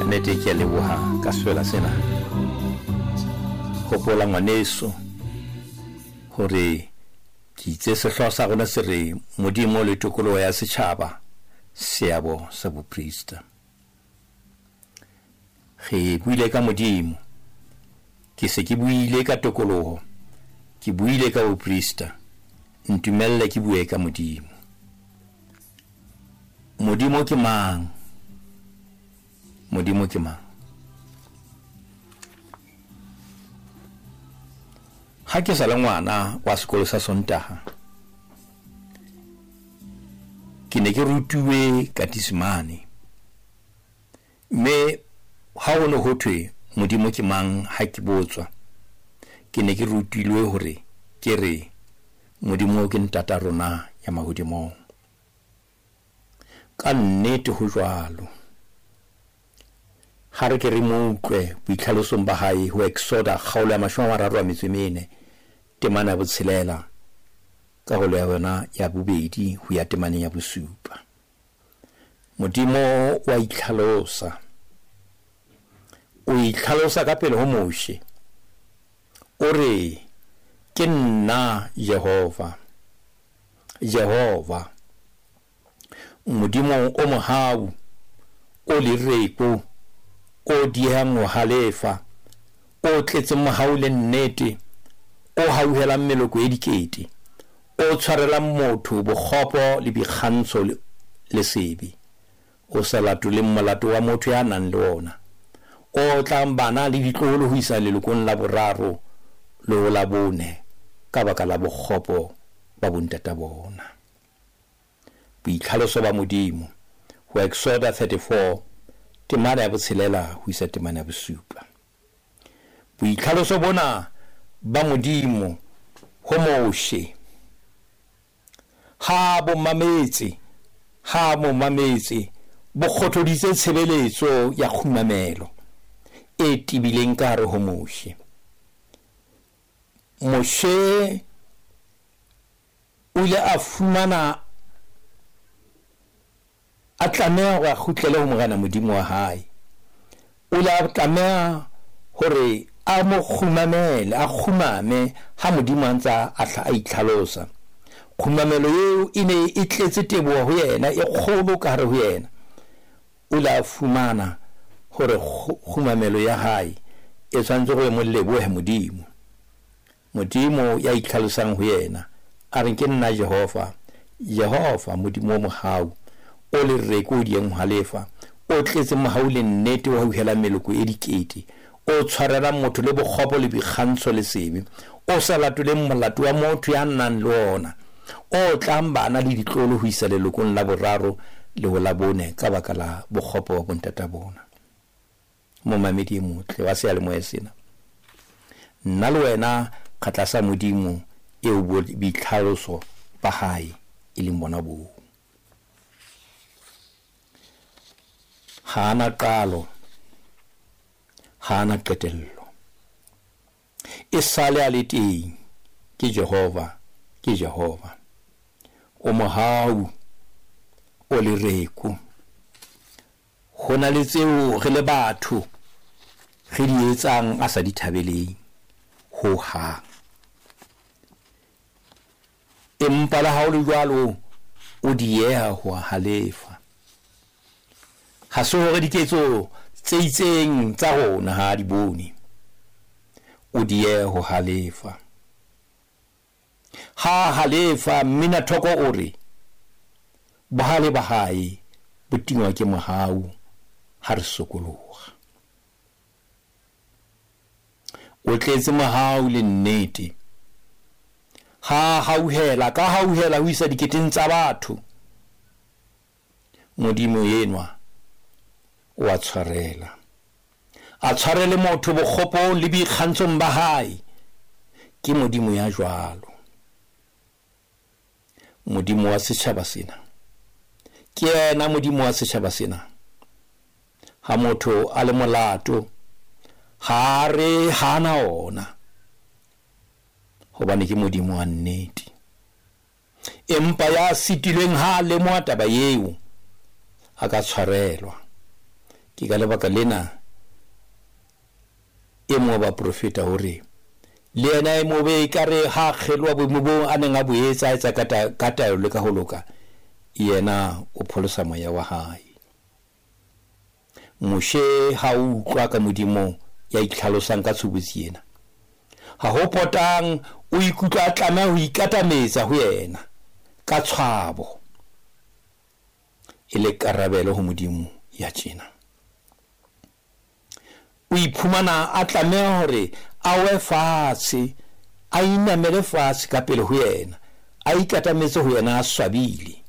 Nnete ke a leboha ka sefela sena. Hopola ngwaneso hore ke itse sehlooho sa rona se re Modimo le tokoloho ya setjhaba, seabo sa boprista. Re buile ka Modimo, ke se ke buile ka tokoloho, ke buile ka boprista, ntumelle ke bue ka Modimo. Modimo ke mang? Modimo ke mang? Ha ke sa le ngwana wa sekolo sa Sontaha, ke ne ke rutuwe katisimane, mme ha ho ne ho thwe Modimo ke mang ha ke botswa, ke ne ke rutilwe hore ke re Modimo ke ntata rona ya mahodimong. Ka nnete ho jwalo. Ha re ke re mo utlwe boitlhalosong ba hae ho Exoda kgaolo ya 34, temana ya botshelela, karolo ya yona ya bobedi ho ya temaneng ya bosupa. Modimo wa itlhalosa. O itlhalosa ka pele ho Moshe. O re, Ke nna Jehova. Jehova, Modimo o mohau, o lereko, o diehang ho halefa, o tletseng mohau le nnete, o hauhelang meloko e dikete, o tshwarelang motho bokgopo le boikgantsho le sebe, o sa latoleng molato wa motho ya nang le wona, o otlang bana le ditloholo ho isa lelokong la boraro le ho la bone ka baka la bokgopo ba bontata bona. Boitlhaloso ba Modimo ho Exoda 34, temana ya botshelela ho isa temana ya bosupa. Boitlhaloso bona ba Modimo ho Moshe ha bo mametse, ha mo mametse, bo kgothoditse tshebeletso ya kgumamelo e tebileng ka hare ho Moshe. Moshe o ile a fumana a tlameha hore a kgutlele ho Morena Modimo wa hae. O ile a tlameha hore a mo kgumamele, a kgumame ha Modimo a ntse a a itlhalosa. Kgumamelo eo e ne e tletse teboho ho yena, e kgolo ka hare ho yena. O ile a fumana hore kgumamelo ya hae e tshwanetse hore e mo lebohe Modimo. Modimo ya itlhalosang ho yena, a re, Ke nna Jehova, Jehova, Modimo o mohau, o lereko, o dieng ho halefa, o tletseng mohau le nnete, o hauhelang meloko e dikete, o tshwarelang motho le bokgopo le boikgantsho le sebe, o sa latoleng molato wa motho ya nang le wona, o otlang bana le ditlolo ho isa lelokong la boraro le ho la bone ka baka la bokgopo ba bontata bona. Momamedi e motle wa seyalemoya sena, nna le wena re tlasa Modimo eo boitlhaloso ba hae e leng bona boo. Ha a na qalo, ha a na qetello. E sale a le teng, ke Jehova, ke Jehova. O mohau, o lereko. Ho na le tseo re le batho re di etsang a sa di thabeleng ho hang. Empa le ha ho le jwalo, o dieha ho a halefa. Ha se hore diketso tse itseng tsa rona ha a di bone. O dieha ho halefa. Ha a halefa, Mminathoko o re, Bohale ba hae bo tingwa ke mohau ha re sokoloha. O tletse mohau le nnete. Ha a hauhela, ka hauhela ho isa diketeng tsa batho. Modimo enwa o a tshwarela. A tshwarele motho bokgopong le boikgantshong ba hae. Ke Modimo ya jwalo. Modimo wa setjhaba sena. Ke yena Modimo wa setjhaba sena. Ha motho a le molato, ha a re ha a na ona, hobane ke Modimo wa nnete. Empa ya sitilweng ha a lemoha taba eo, a ka tshwarelwa. Ke ka lebaka lena e mong wa baprofeta o re, Le yena e mobe ekare ha a kgeloha boemo boo a neng a bo etsa, a etsa ka taelo le ka ho loka, yena o pholosa moya wa hae. Moshe ha o utlwa ka Modimo ya itlhalosang ka tshobotsi ena, ha ho potang o ikutlwa a tlameha ho ikatametsa ho yena ka tshwabo e le karabelo ho Modimo ya tjena. O iphumana a tlameha hore a we fatshe, a inamele fatshe ka pele ho yena, a ikatametse ho yena a swabile.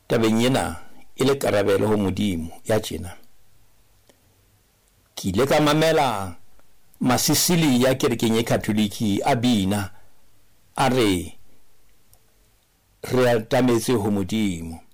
Tabeng ena e le karabelo ho Modimo ya tjena. Ke ile ka mamela Masisilia kerekeng e Katholiki a bina a re, Re atametse ho Modimo.